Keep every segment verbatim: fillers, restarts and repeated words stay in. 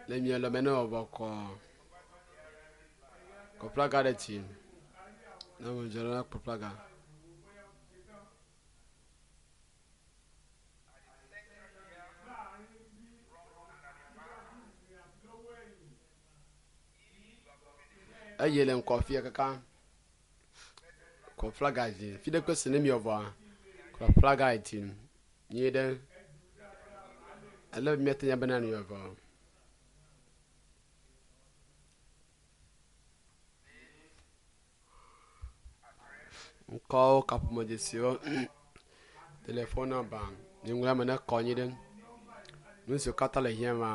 Le mia lɔme ne wɔbɔ kɔ kɔ flaga ɖe dzi. Ne ame dzɔ la kɔ flaga. Eye le ŋkɔ fia kaka kɔ flaga dzi. Fi ɖe kpe si ne mievɔa kɔ flaga dzi. Nyuie ɖe. Ele be miate nya bena mievɔ. Ŋkɔwo kaƒomedzesiwo telefon nɔmba nuŋlɔ eme ne kɔ nyi ɖe. Nu siwo katã le hiã ma.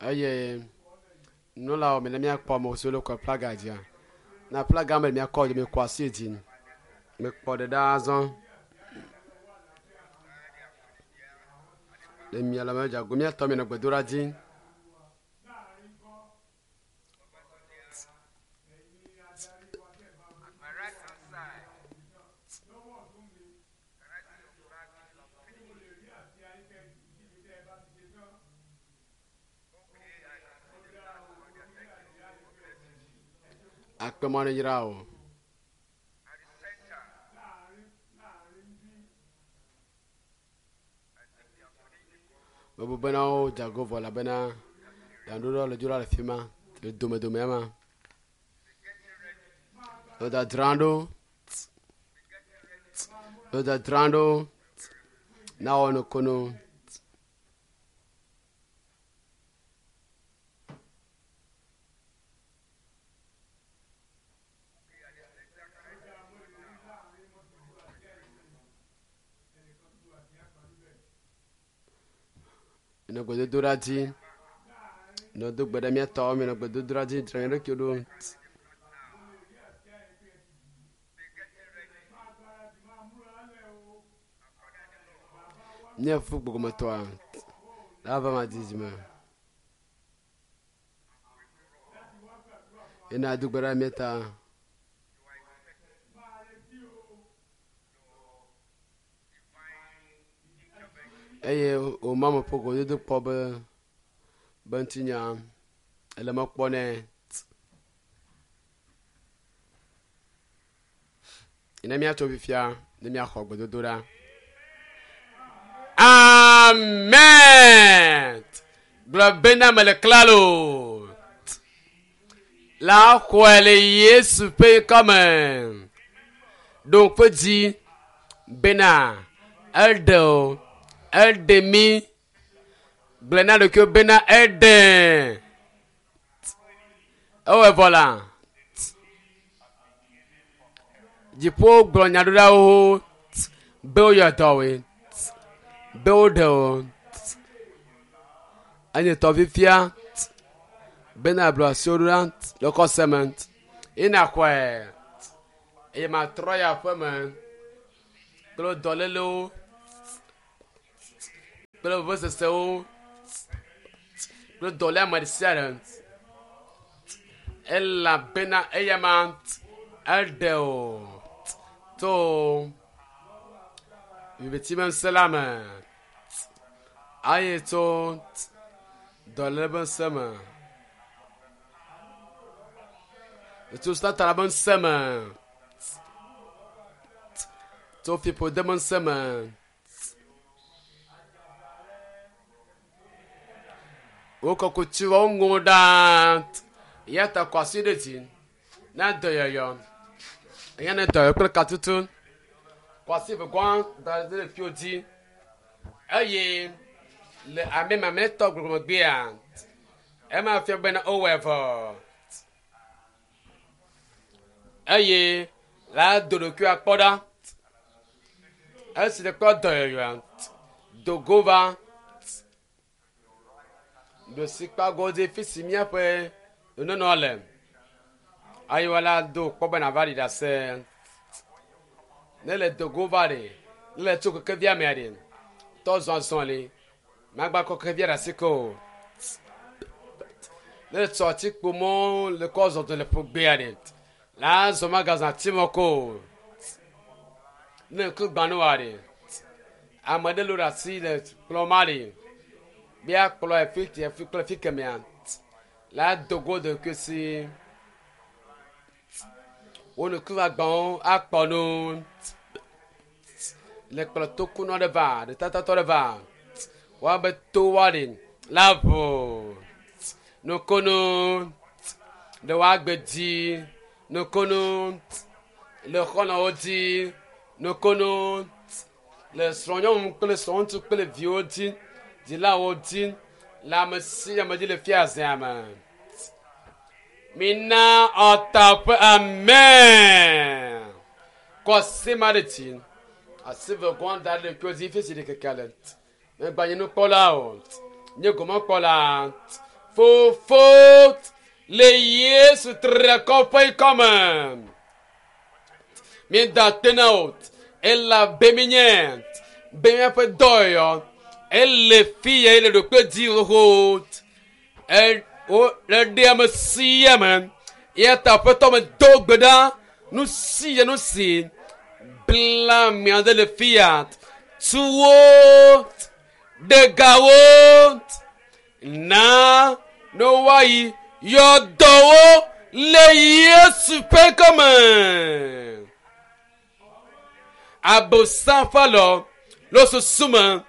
Eye nunɔlawo mi ne míakpɔ ame siwo le kɔ flaga dzia. Na flaga me míakɔ dzi mikɔ asi dzi. Mekpɔ ɖe ɖa azɔ. Le mia le me dzago míatɔ mi nɔ gbedoɖa dzi. At my right hand side, can I see your flag if you have finished? Okay, I can see the flag over there. Thank you. God bless you. Akpemɔ ne yra o. At the center, I think they have finished the call. Mebu bena wo dzago vɔ elabena ɖaŋuɖoɖo le dzo ɖa le fi ma le domedome ma. Be getting ready. Le dzadzram ɖo. Be getting ready. Le dzadzram ɖo. Na wɔ nukunu. Okay, at the center, can I see your flag now? Minɔ gbedodoɖa dzi. Minɔ do gbe ɖe mía tɔwo minɔ gbedodoɖa dzi dzra mía ɖokuiwo ɖo. Be getting ready. According to the law. Míafu gbɔgbɔmetɔa la va ma didi me. Ena do gbe ɖe mía ta. You are expecting your divine intervention. Eye wò mame ƒe gododo kpɔ be be ŋutinya ele mɔ kpɔ nɛ. Ne míatso fifia ne míaxɔ gbedodoɖa. Amen. Gblɔ bena mele klalo. La xɔe le Yesu ƒe ŋkɔme. Ɖo ŋku dzi bena eɖe o, eɖe mí. Gblɔ na ɖokuiwò bena eɖe. Ewɔe vɔ la. Dziƒo gblɔ nya ɖo ɖa wo be woyɔ dɔwoe, be woɖe wo. Enye tɔ fifia bena blu asiwo ɖo ɖa le xɔse me. Ina xɔe eye matrɔ yi aƒe me kple dɔlélewo kple vevesesewo kple dɔléame ɖe sia ɖe. Elabena eya ma eɖe o to viviti be ŋusẽ la me eye tso dɔléle be ŋusẽ me tso Satana be ŋusẽ me tso fiƒode be ŋusẽ me. Wo kɔkuti wo ŋu ɖaa eya ta kɔ asi ɖe dzi na dɔyɔyɔ eya ne dɔyɔyɔ kple katutu kɔ asi vegɔa da ɖe ɖeviwo dzi eye le ame mamlɛtɔ gbɔgbɔmegbea ema fia bena wowɔe vɔ eye la do ɖokuiwo akpɔ ɖa esi le kpɔ dɔyɔyɔa dogo va ɖosikpagɔdzi fi si míaƒe nunɔnɔ le eye wala do kpɔ be nava ɖi ɖase ne le dogo va ɖe ne le tso kekevia mea ɖe tɔ zɔzɔ li Magba kɔ xexevia ɖe asi ke o. Ne tsɔ atikpo mɔ le kɔ zɔ do le ƒogbea ɖe. La zɔ magazã atimɔ ko o. Ne ŋku gbãnu wa ɖe. Ame ɖe lo ɖe asi le kplɔ ma ɖe. Bia kplɔ efi tia fi kple fi kemea. La dogo ɖokui si. Wo ŋku agbawo akpɔ nu. Le kplɔ tokunɔ ɖe va, ɖetatatɔ ɖe va. Woabe to wa ɖe la ʋu. Nukunu le woagbe dzi. Nukunu le xɔlɔ̃wo dzi. Nukunu le srɔ̃nyɔnu kple srɔ̃ŋutsu kple viwo dzi. Dzilawo dzi. Le ame sia ame dzi le fiazea me. Mina ɔta ƒe amen. Kɔ asi ma ɖe dzi. Asi ve gɔn da ɖe ɖokuiwo dzi fi si ɖe keke le. Megba nye nukpɔla o. Nye gomekpɔla. Fofo le Yesu triakɔ ƒe ŋkɔme. Míeda akpe na wò elabe míenye be míaƒe dɔyɔyɔ ele fi ya le ɖokui dzi xoxo. E wo le ɖe ame sia ame. Eya ta aƒetɔ me do gbe ɖa nu sia nu si bla mia ɖe le fi ya. Tuwo ɖegawo na ne woayi yɔdɔwo le Yesu ƒe ŋkɔme. Abosam ƒe alɔ le susu me,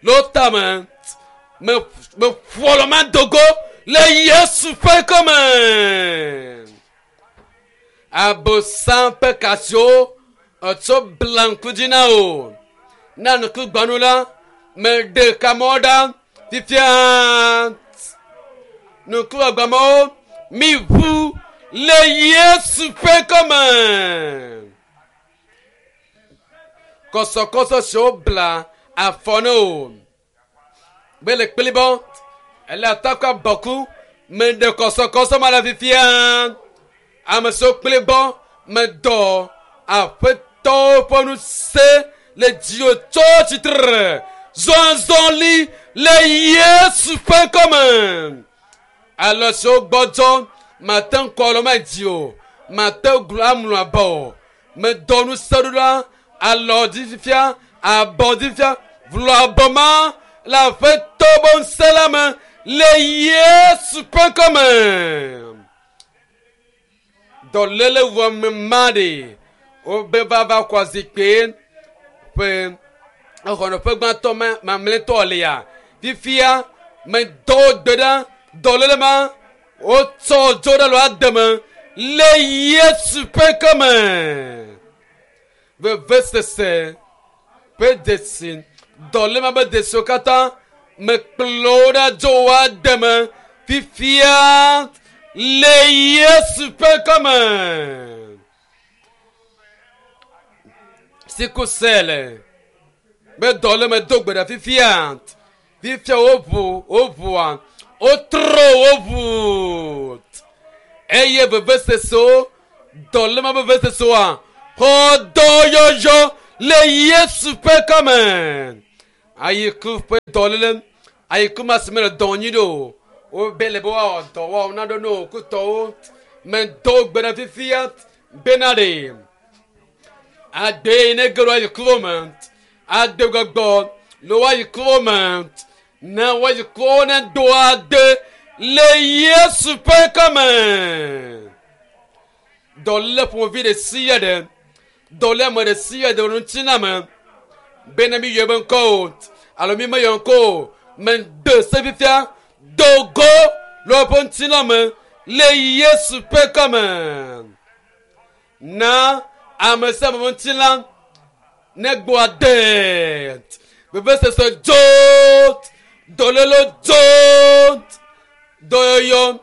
le tame, me me ƒo alɔ ma dogo le Yesu ƒe ŋkɔme. Abosam ƒe kasiwo etsɔ bla ŋku dzi na wò. Na ŋku gbanu la, meɖe kamɔ ɖa fifia. Ŋku agbamewo mi ʋu le Yesu ƒe ŋkɔme. Kɔsɔkɔsɔ siwo bla afɔ ne o. Be le kplibɔ, ele atakɔ abɔku, meɖe kɔsɔkɔsɔ ma le fifia. Ame siwo kplibɔ, medɔ aƒetɔwo ƒe ŋusẽ le dziwò tso tsitre. Zɔzɔli le Yesu ƒe ŋkɔme. Alɔ siwo gbɔdzɔ, mate ŋu kɔ alɔ ma dzi o. Mate ŋu amlɔ abɔ o. Medɔ ŋusẽ ɖo ɖa alɔ dzi fifia, abɔ dzi fifia, vlɔ abɔ ma le aƒetɔ ƒe ŋusẽ la me le Yesu ƒe ŋkɔme. Dɔléle wɔme ma ɖe wobe vava kɔ zikpui ƒe exɔnɔƒe gbãtɔ ma mamlɛtɔ lia. Fifia medɔ gbe ɖa dɔléle ma wotsɔ dzo ɖe lo ademe le Yesu ƒe ŋkɔme. Vevesese ƒe dzesi dɔléle ma be dzesiwo katã mekplɔ wo ɖa dzo wo ademe fifia le Yesu ƒe ŋkɔme. Sikusele be dɔléle me do gbe ɖa fifia. Fifia woʋu woʋua wotrɔ woʋu eye vevesesewo dɔléle ma be vevesesewoa xɔ dɔyɔyɔ le Yesu ƒe ŋkɔme. Ayiku ƒe dɔléle ayiku ma si mele dɔ nyi ɖo o. Wobe le be woawɔ dɔ woawɔ naɖo ne wòkutɔwo medo gbe ɖa fifia bena ɖe agbe yi ne ge ɖo ayikuwo me ade gbɔgbɔ le woayikuwo me ne woayikuwo ne do ade le Yesu ƒe ŋkɔme. Dɔléle ƒomevi ɖe sia ɖe dɔléle ame ɖe sia ɖe le ŋuti me bena mi yɔ be ŋkɔ o alo mi meyɔ ŋkɔ o mede se fifia dogo le woƒe ŋutilã me le Yesu ƒe ŋkɔme. Na ame sia ame ƒe ŋutilã ne gbɔ ade vevesese dzo dɔléle dzo dɔyɔyɔ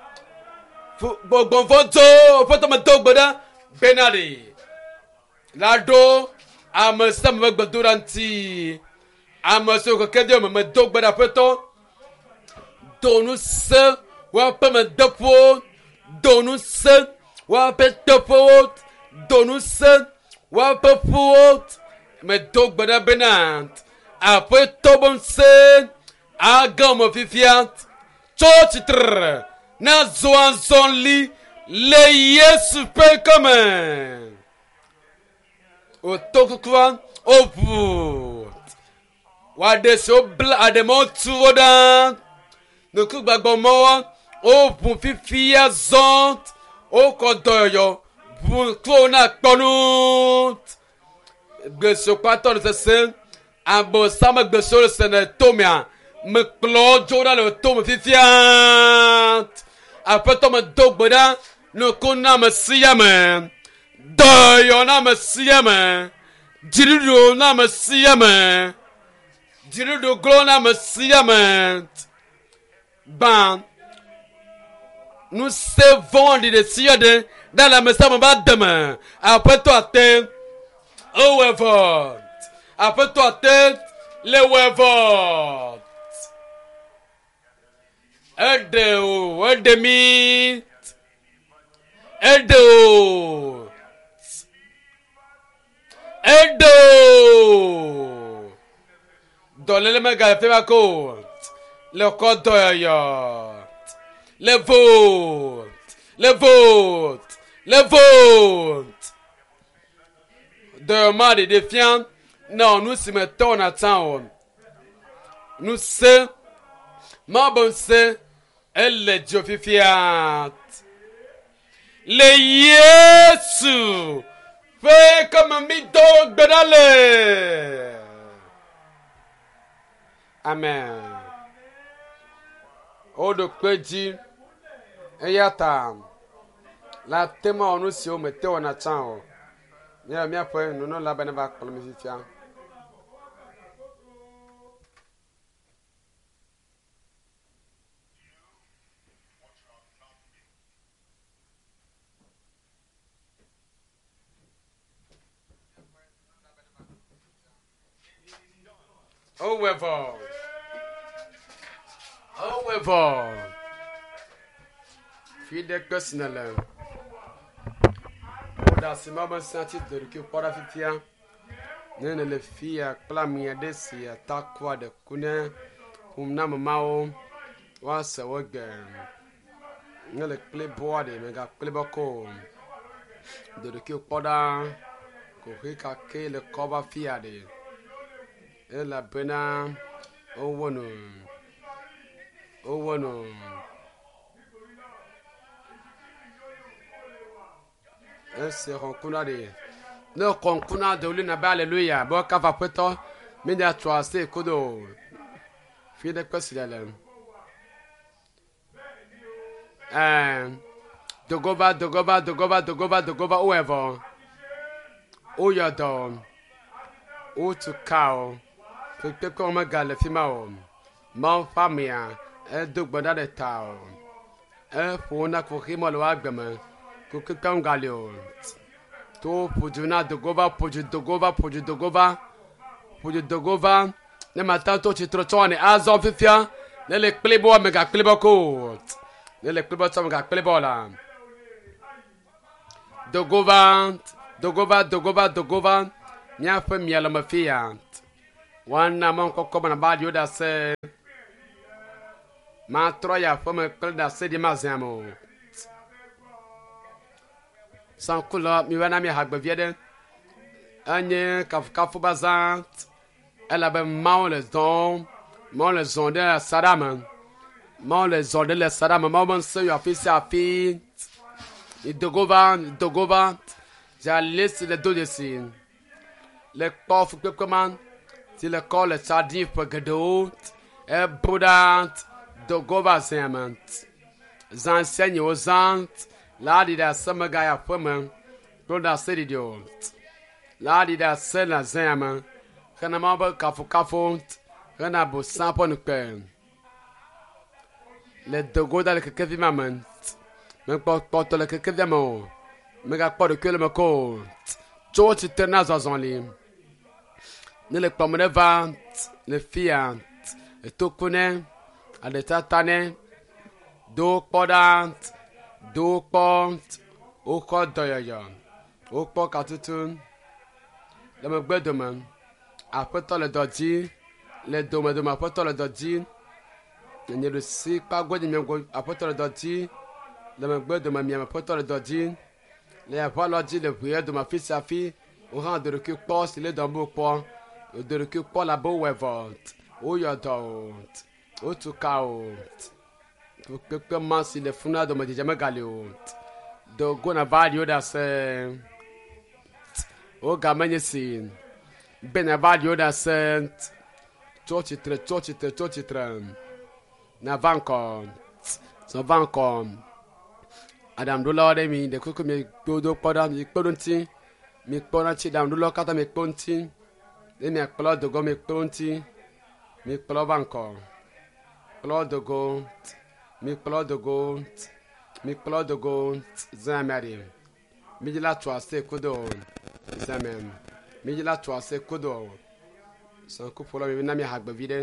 gbɔgbɔvɔ dzo aƒetɔ me do gbe ɖa bena ɖe la ɖo ame sia ame ƒe gbedoɖa ŋuti. Ame siwo keke ɖe me medo gbe ɖa aƒetɔ do ŋusẽ woaƒe medeƒowo do ŋusẽ woaƒe teƒewo do ŋusẽ woaƒe ƒuwo medo gbe ɖa bena aƒetɔ ƒe ŋusẽ Agame fifia tso tsitre na zɔ azɔli le Yesu ƒe ŋkɔme. Wòto kukua woʋu. Woaɖe si wobla aɖemɔwo tu wo ɖa. Ŋkugbãgbɔmɔwo woʋu fifia zɔ. Wokɔ dɔyɔyɔ ʋu ŋkuwo na kpɔnu. Gbe siwo kpatɔ le sesem. Abosam gbe siwo le se le tomea. Mekplɔ dzo ɖa le tome fifia. Aƒetɔ me do gbe ɖa nuku na ame sia ame. Dɔyɔ na ame sia ame. Dziɖuɖu na ame sia ame. Dziɖuɖu glo na ame sia ame. Gbã ŋusẽ vɔ̃ɖi ɖe sia ɖe ɖa le ame sia ame ƒe ademe. Aƒetɔ ate ewɔe vɔ. Aƒetɔ ate le wɔe vɔ. Eɖe o, eɖe mi. Eɖe o. Eɖe o. Dɔléle megale fi ma ko o. Le kɔ dɔyɔyɔ. Le vote. Le vote. Le vote. Dɔyɔma ɖeɖe fia na nu si me tɔ na tsã o. Ŋusẽ Mawu be ŋusẽ ele dzo fifia. Le Yesu ƒe ŋkɔme mi do gbe ɖa le. Amen. Woɖo kpe dzi eya ta la te ma wɔ nu siwo mete wɔna tsã o. Míawɔ míaƒe nunɔla be ne va kplɔ mi fifia. Wowɔe vɔ. Wowɔe vɔ. Fi ɖe kpe si nèle. Woɖe asi ma be ŋusẽ tsi do ɖokui kpɔ ɖa fifia. Ne nèle fi ya kple ame aɖe si atakua ɖe ku ne ƒom na ame mawo woase wo gbe. Ne le kplibɔa ɖe megakplibɔ ko o. Do ɖokui kpɔ ɖa. Koxi ka ke le kɔ va fia ɖe. Elabena wowɔ nu. Wowɔ nu. Esi xɔ ŋku na ɖe. Ne xɔ ŋku na do wli na be aleluya be woakafu aƒetɔ. Mi ɖe atsɔ asi kodo. Fi ɖe kpe si le le. Ɛɛ dogova dogova dogova dogova dogova wowɔe vɔ. Woyɔ dɔ. Wotu ka o. Kpekpe megale fi ma o. Mawu ƒe amea edo gbe ɖa ɖe ta o. Eƒo na kuxi me le wo agbe me. Kukukpe ŋgali o. To ƒo du na dogova ƒo du dogova ƒo du dogova ƒo du dogova. Ne mata to tsitre tsɔ ne azɔ fifia. Ne le kplibɔ megakplibɔ ko o. Ne le kplibɔ tsɔ megakplibɔ la. Dogova dogova dogova dogova. Míaƒe mialɔme fia. Woana mɔkpɔkpɔ be naba ɖi wo ɖase. Matrɔ yi aƒeme kple ɖase ɖi mazã me o. Sankulɔ mi va na mi hagbe vi aɖe. Enye kafukafu be azã. Elabe Mawu le zɔm. Mawu le zɔm ɖe asaɖa me. Mawu le zɔm ɖe le asaɖa me. Mawu be ŋusẽ yɔ afi sia afi. Dogova dogova. Dza si le do dzesi. Le kpɔ fukpekpe ma si le kɔ le tsa ɖim ƒe geɖewo. Ebu ɖa dogova zea me. Zã sia nye wozã la ɖi ɖe ase megayi aƒeme kple ɖase ɖiɖi o. La ɖi ɖe ase le zea me. Hena Mawu be kafukafu hena bosã ƒe nukpe. Le dogo da le kekevi ma me. Mekpɔ kpɔtɔ le kekevia me o. Megakpɔ ɖokui le me ko o. Tso tsitre na zɔzɔli. Ne le kplɔm ɖe va le fia etoku ne aɖetata ne do kpɔ ɖa do kpɔ wokɔ dɔyɔyɔ wokpɔ katutu le megbe dome aƒetɔ le dɔ dzi le dome dome aƒetɔ le dɔ dzi Nye ɖusi kpa godzi miago aƒetɔ le dɔ dzi le megbe dome miame aƒetɔ le dɔ dzi le aƒe alɔ dzi le ʋuie dome afi sia afi wo hã do ɖokui kpɔ si le dɔm be wokpɔ do ɖokui kpɔ la be wowɔe vɔ woyɔ dɔ o wotu ka o kpekpe ma si le funu dome dzedze megali o do go na va ɖi wo ɖase wo game nye si be na va ɖi wo ɖase tso tsitre tso tsitre tso tsitre na va ŋkɔ zɔ va ŋkɔ aɖaŋuɖolawo ɖe mi ɖe kuku mi kpe do kpɔ ɖa mi kpe ɖo ŋuti mi kpɔ ɖa ŋuti aɖaŋuɖolawo katã mi kpe ŋuti ne miakplɔ dogo mi kpe ŋuti mi kplɔ va ŋkɔ kplɔ dogo mi kplɔ dogo mi kplɔ dogo zã mia ɖi mi dzi la tu ase kudo zã mia mi dzi la tu ase kudo sankuƒola mi na mi hagbevi ɖe.